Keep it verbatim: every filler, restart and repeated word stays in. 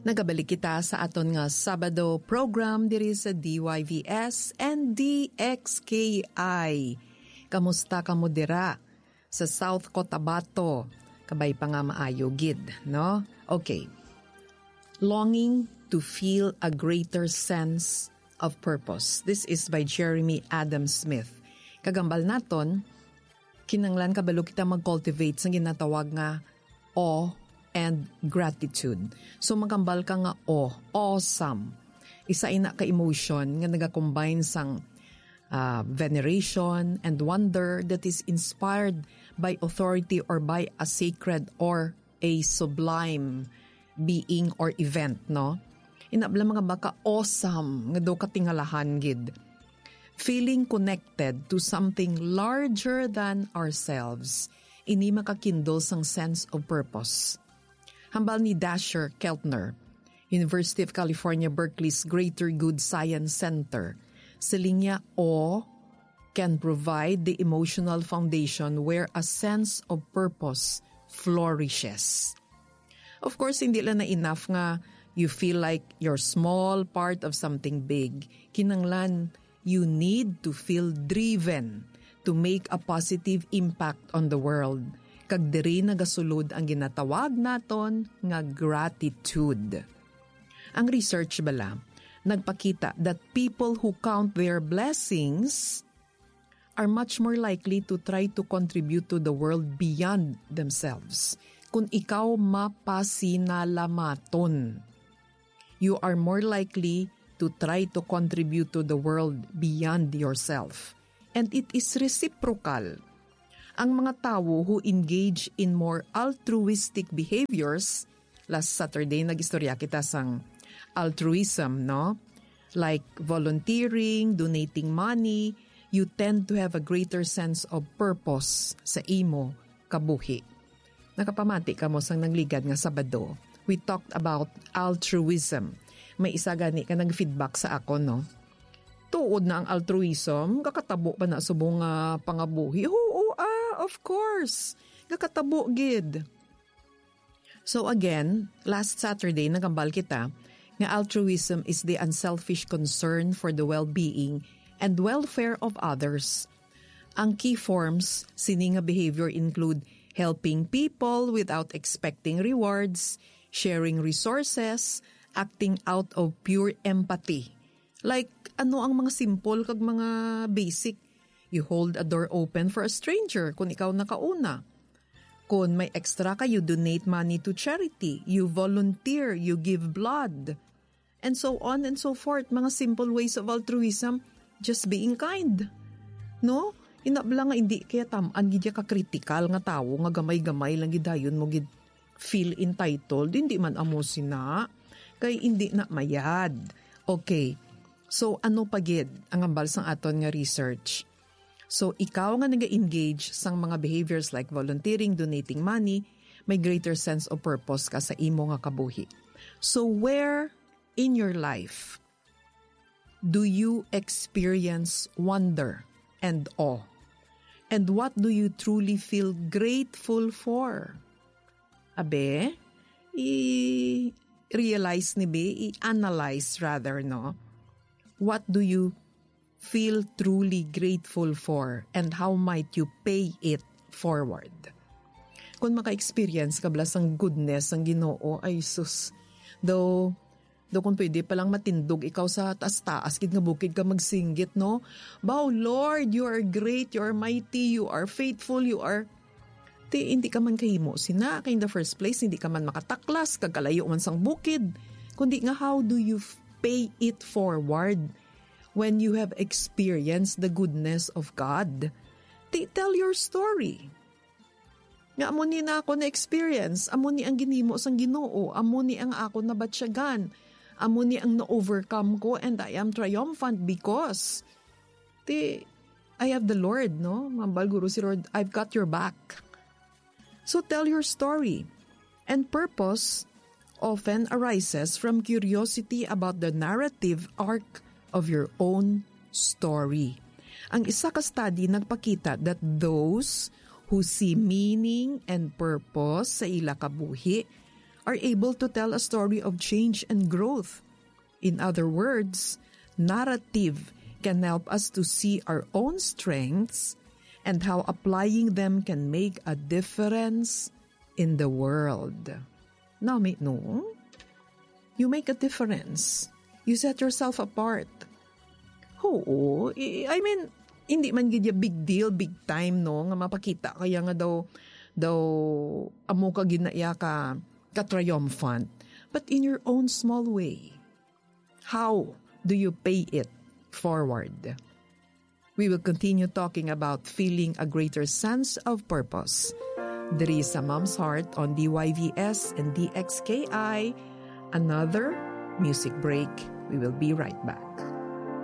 Nagabalik kita sa aton nga Sabado program diri sa D Y V S and D X K I. Kamusta kamo dira sa South Cotabato? Kabay pa nga maayo gid, no? Okay. Longing to feel a greater sense of purpose. This is by Jeremy Adam Smith. Kagambal naton, kinanglan kabalo kita mag-cultivate sa ginatawag nga awe and gratitude. So, magambal ka nga awe, awesome. Isa ina ka emotion nga nagakombine sang, ah, veneration and wonder that is inspired by authority or by a sacred or a sublime being or event, no? Inabla mga baka awesome nga daw katingalahan gid. Feeling connected to something larger than ourselves, ini makakindol sang sense of purpose. Hambal ni Dasher Keltner, University of California, Berkeley's Greater Good Science Center, siling niya, awe can provide the emotional foundation where a sense of purpose flourishes. Of course, hindi lang na enough nga you feel like you're small part of something big. Kinanglan, you need to feel driven to make a positive impact on the world. Kag diri nagasulod ang ginatawag naton nga gratitude. Ang research bala nagpakita that people who count their blessings are much more likely to try to contribute to the world beyond themselves. Kung ikaw mapasinalamaton, you are more likely to try to contribute to the world beyond yourself. And it is reciprocal. Ang mga tawo who engage in more altruistic behaviors, last Saturday nag-istorya kita sang altruism, no? Like volunteering, donating money, you tend to have a greater sense of purpose sa imo kabuhi. Nakapamati kamo sang nagligad nga Sabado. We talked about altruism. May isa gani ka nag-feedback sa akon, no? Tuod na ang altruism, kakatabo pa na subong nga pangabuhi. Oo, ah, of course. Kakatabo gid. So again, last Saturday, nagambal kita nga altruism is the unselfish concern for the well-being and welfare of others. Ang key forms sini nga behavior include helping people without expecting rewards, sharing resources, acting out of pure empathy. Like, ano ang mga simple kag mga basic? You hold a door open for a stranger kung ikaw nakauna. Kung may extra ka, you donate money to charity, you volunteer, you give blood, and so on and so forth. Mga simple ways of altruism, just being kind. No? Inabla nga hindi kaya tam-an gid ya ka kritikal nga tawo nga gamay-gamay lang gid dayon mo gid feel entitled. Hindi man amo sina. Kay hindi na mayad. Okay. So, ano pa gid ang ambal sang aton nga research? So, ikaw nga naga-engage sang mga behaviors like volunteering, donating money, may greater sense of purpose ka sa imo nga kabuhi. So, where in your life do you experience wonder and awe? And what do you truly feel grateful for? Abe, i-realize ni bi, i-analyze rather, no? What do you feel truly grateful for, and how might you pay it forward? Kung maka-experience ka bala sang goodness sang Ginoo, ay sus, daw, daw kung pwede palang matindog ikaw sa taas-taas gid nga bukid ka magsinggit, no? Bow, Lord, you are great, you are mighty, you are faithful, you are Ti, hindi ka man kahimo sina, kay in the first place, hindi ka man makataklas, kag kalayo man sang bukid. Kundi nga, how do you f-, pay it forward when you have experienced the goodness of God? Ti, tell your story. Nga amo ni na ako na-experience, amo ni ang ginhimo sang Ginoo, amo ni ang ako nabatyagan, amo ni ang na-overcome ko, and I am triumphant because Ti, I have the Lord, no? Mambal guro si Lord, "I've got your back." So tell your story. And purpose often arises from curiosity about the narrative arc of your own story. Ang isa ka study nagpakita that those who see meaning and purpose sa ila kabuhi are able to tell a story of change and growth. In other words, narrative can help us to see our own strengths and how applying them can make a difference in the world. Nami, no? You make a difference. You set yourself apart. Oo, I, I mean, hindi man gid ya big deal, big time, no, nga mapakita kaya nga daw, daw amo ka gid na iya ka, ka triumphant. But in your own small way, how do you pay it forward? We will continue talking about feeling a greater sense of purpose. Diri sa Mom's Heart on D Y V S and D X K I, another music break. We will be right back.